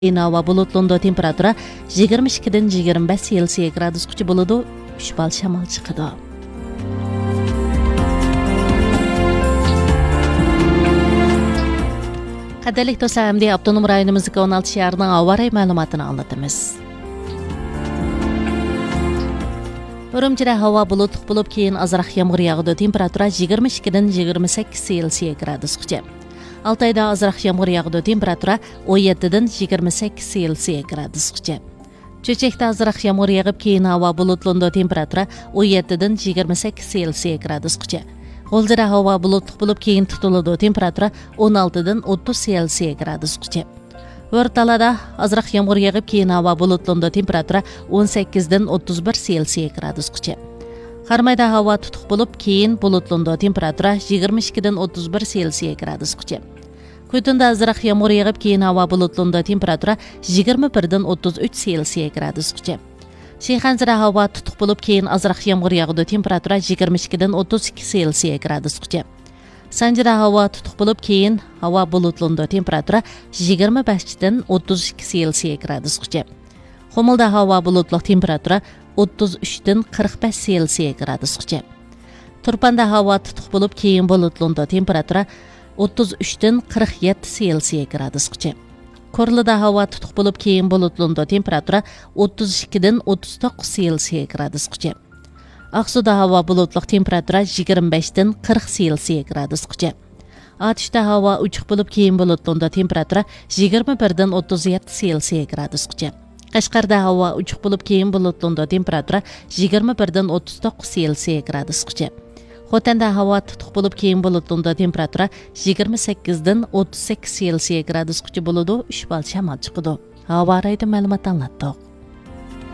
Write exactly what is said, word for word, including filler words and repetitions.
كېيىن ھاۋا بۇلۇتلىنىدۇ، تېمپېراتۇرا يىگىرمە ئىككىدىن يىگىرمە بەش سېلسىيە گرادۇسقىچە بولىدۇ، ئۈچ بال شامال چىقىدۇ. قەدىرلىك دوستلار، ئەمدى ئاپتونوم رايونىمىزدىكى ئون ئالتە شەھەرنىڭ ھاۋا رايى مەلۇماتىنى ئاڭلىتىمىز. ئۈرۈمچىدە ھاۋا بۇلۇتلۇق بولۇپ، كېيىن ئازراق يامغۇر ياغىدۇ، تېمپېراتۇرا يىگىرمە ئىككىدىن يىگىرمە سەككىز سېلسىيە گرادۇسقىچە. ئالتايدا ئازراق يامغۇر ياغىدۇ، تېمپېراتۇرا ئون يەتتىدىن يىگىرمە سەككىز سېلسىيە گرادۇسقىچە. چۆچەكتە ئازراق يامغۇر يېغىپ، كېيىن ھاۋا بۇلۇتلىنىدۇ، تېمپېراتۇرا ئون يەتتىدىن يىگىرمە سەككىز سېلسىيە گرادۇسقىچە. غۇلجىدا ھاۋا بۇلۇتلۇق بولۇپ، كېيىن تۇتۇلىدۇ، تېمپېراتۇرا ئون ئالتىدىن ئوتتۇز سېلسىيە گرادۇسقىچە. ھۆرتالادا ئازراق يامغۇر يېغىپ، كېيىن ھاۋا بۇلۇتلىنىدۇ، تېمپېراتۇرا ئون سەككىزدىن ئوتتۇز بىر سېلسىيە گرادۇسقىچە. قارامايدا ھاۋا تۇتۇق بولۇپ، كېيىن بۇلۇتلىنىدۇ، تېمپېراتۇرا يىگىرمە ئىككىدىن ئوتتۇز بىر سېلسىيە گرادۇسقىچە. كۈتۈندە ئازراق يامغۇر يېغىپ، كېيىن ھاۋا بۇلۇتلىنىدۇ، تېمپېراتۇرا يىگىرمە بىردىن ئوتتۇز ئۈچ سېلسىيە گرادۇسقىچە. شىخەنزىدە ھاۋا تۇتۇق بولۇپ، كېيىن ئازراق يامغۇر ياغىدۇ، تېمپېراتۇرا يىگىرمە ئىككىدىن ئوتتۇز ئىككى سېلسىيە گرادۇسقىچە. سانجىدا ھاۋا تۇتۇق بولۇپ، كېيىن ھاۋا بۇلۇتلىنىدۇ، تېمپېراتۇرا يىگىرمە بەشتىن ئوتتۇز ئىككى سېلسىيە گرادۇسقىچە. قۇمۇلدا ھاۋا بۇلۇتلۇق، تېمپېراتۇرا ئوتتۇز ئۈچتىن قىرىق بەش سېلسىيە گرادۇسقىچە. تۇرپاندا ھاۋا تۇتۇق بولۇپ، كېيىن بۇلۇتلىنىدۇ، تېمپېراتۇرا ئوتتۇز ئۈچتىن قىرىق يەتتە سېلسىيە گرادۇسقىچە. كورلىدا ھاۋا تۇتۇق بولۇپ، كېيىن بۇلۇتلىنىدۇ، تېمپېراتۇرا ئوتتۇز ئىككىدىن ئوتتۇز توققۇز سېلسىيە گرادۇسقىچە. ئاقسۇدا ھاۋا بۇلۇتلۇق، تېمپېراتۇرا يىگىرمە بەشتىن قىرىق سېلسىيە گرادۇسقىچە. ئاتۇشتا ھاۋا ئوچۇق بولۇپ، كېيىن بۇلۇتلىنىدۇ، تېمپېراتۇرا يىگىرمە بىردىن ئوتتۇز يەتتە سېلسىيە گرادۇسقىچە. قەشقەردە ھاۋا ئوچۇق بولۇپ، كېيىن بۇلۇتلىنىدۇ، تېمپېراتۇرا يىگىرمە بىردىن ئوتتۇز توققۇز سېلسىيە گرادۇسقىچە. خوتەندە ھاۋا تۇتۇق بولۇپ، كېيىن بۇلۇتلىنىدۇ، تېمپېراتۇرا يىگىرمە سەككىزدىن ئوتتۇز سەككىز سېلسىيە گرادۇسقىچە بولىدۇ، ئۈچ بال شامال چىقىدۇ. ھاۋا رايىدا مەلۇمات ئاڭلاتتۇق.